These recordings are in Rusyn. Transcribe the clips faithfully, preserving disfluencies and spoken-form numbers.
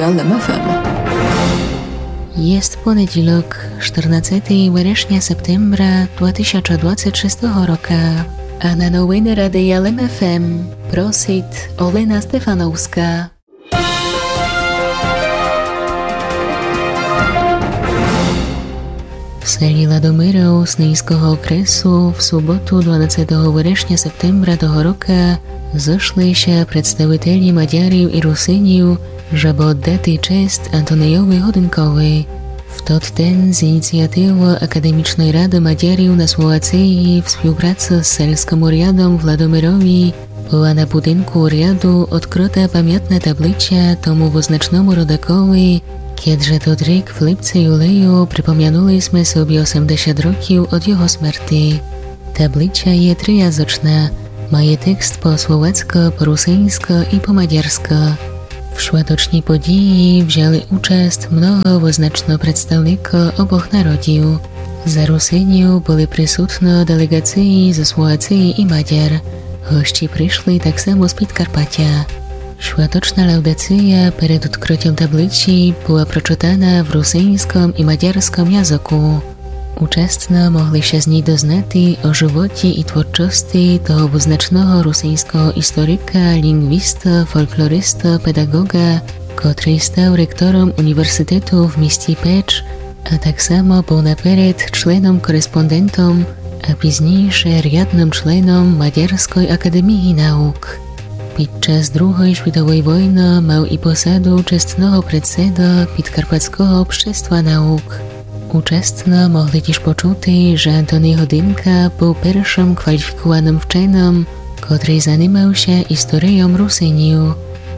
Лем ФМ. Єст понедїлок, штирнадцетый верешня септембра два тисяча двадцет шестого рока. А на новины Радия Лем ФМ просит Олена Стефановска. В селі Ладомиров Снинського окресу в суботу, дванадцетого верешня септембра того рока, зошли ся представителі мадярів і русинів, жебы оддати чест Антонийови Годинкови. В тот ден з ініціативы Академічной рады мадярів на Словациї в співпраци з сельскым урядом в Ладомирові была на будинку уряду одкрыта памятна таблича тому визначному родакови, кєд же тот рік в липци юлею припомянули сьме собі осемдесят років од його смерти. Таблича є триязычна, має текст по словацько, по русинсько і по мадярсько. В шваточній подїї взяли участ много визначно представникы обох народів. За русинів были присутно делеґациї зо Словациї і Мадяр. Гості пришли так само з Підкарпатя. Шваточна лаудация перед одкрытьом табличі была прочытана в русинськом і мадярськом языку. Участно могли ся з ній дознати о животі і творчости того визначного русинського історика, лінґвіста, фолклориста, педаґоґа, котрый став ректором університету в місті Печ, а так само был наперед членом-кореспондентом, а пізніше рядным членом Мадярськой академії наук. Під час Другой світовой войны мав і посаду честного председа Підкарпатського общества наук. Участно могли тіж почути, же Антоний Годинка был першым кваліфікуваным вченым, котрый занимав ся історийом русинів.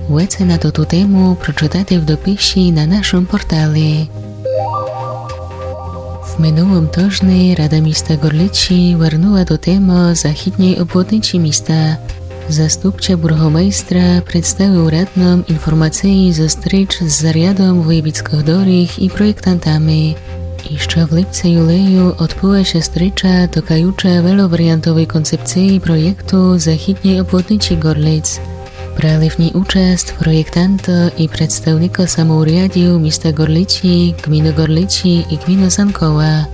Веце на тоту тему прочытати в дописі на нашым портали. В минулым тыжни Рада міста Ґорлицї вернула до темы західньой обводничі міста. Заступча бургомайстра представив радным інформациї зо стріч з зарядом воєвідськых доріг і проєктантами. Іщы в липци юлею одбыла ся стріча, токаюча веловаріантовой концепциї проєкту західньой обводничі Ґорлиць. Брали в ній участ проєктанты і представникы самоурядів міста Ґорлицї, ґміны Ґорлицї і ґміны Санкова.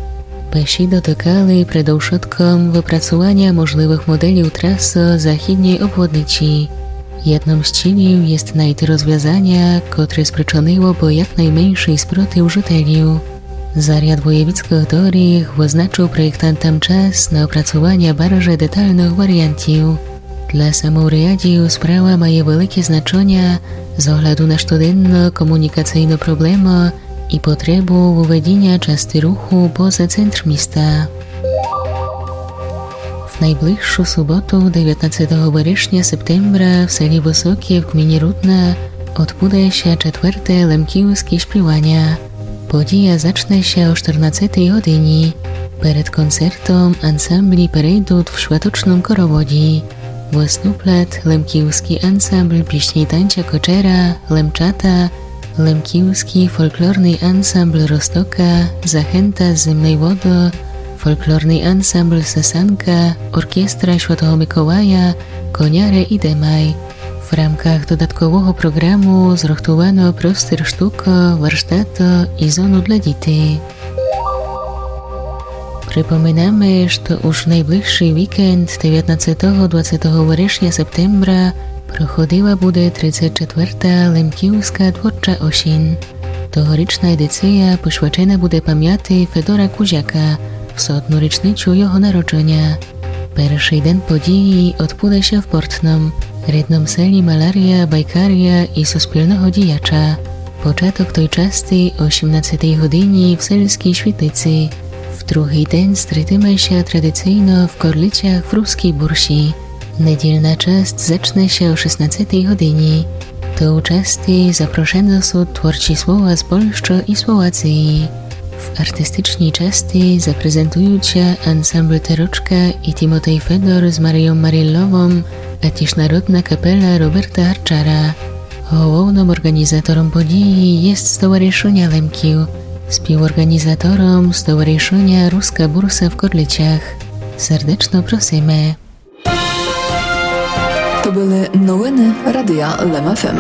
Бесіды токали предовшытком выпрацуваня можливых моделів трасы західньой обводничі. Єдным з цілів єст найти розвязаня, котре спричынило бы якнайменшый спротив жителів. Заряд воєвідськых доріг визначив проєктантам час на опрацуваня барже детальных варіантів. Для самоурядів справа має велике значыня з огляду на штоденну комунікацийну проблему і потребу выведіня части руху поза центр міста. В найближшу суботу, девятнадцетого верешня септембра, в селі Высокє в ґміні Рудна одбуде ся четверте лемківске шпіваня. Подія зачне ся о штирнадцетый годині. Перед концертом ансамблі перейдут в шваточным короводї. Выступлят лемківскій ансамбль пісні і танця Кочера, Лемчата, лемківскій фолклорный ансамбль Розтока, Захента з Зимной Воды, фолклорный ансамбль Сасанка, оркестра Святого Миколая, Коняры і Демай. В рамках додаткового програму зрыхтувано простір штука, варштата і зону для дітей. Припоминаме, што уж в найближшый вікенд, девятнадцетого, двадцетого верешня, септембра, проходила буде тридцет четверта Лемківска творча осінь. Тогорічна едиція посвячена буде памяти Федора Кузяка в сотну річницю його народженя. Першый ден події одбуде ся в Портном, рідном селі маляря, байкаря і суспільного діяча. Початок той части о сімнадцетый годині в сельскій світлиці. В другый ден стрітиме ся традиційно в Корлицях в Рускій бурсі. Недільна част зачне ся о шістнадцетый годині. До участи запрошены сут творчі слова з Польщы і Словациї. В артистичній части запрезентуют ся ансамбль Терочка і Тимотей Федор з Марийом Марілловом, а тіж народна капела Роберта Гарчара. Головным орґанізатором події єст Стоваришыня Лемків, співорґанізатором Стоваришыня Руска бурса в Корлицях. Сердечно просиме. То были новины Радия Лем ФМ.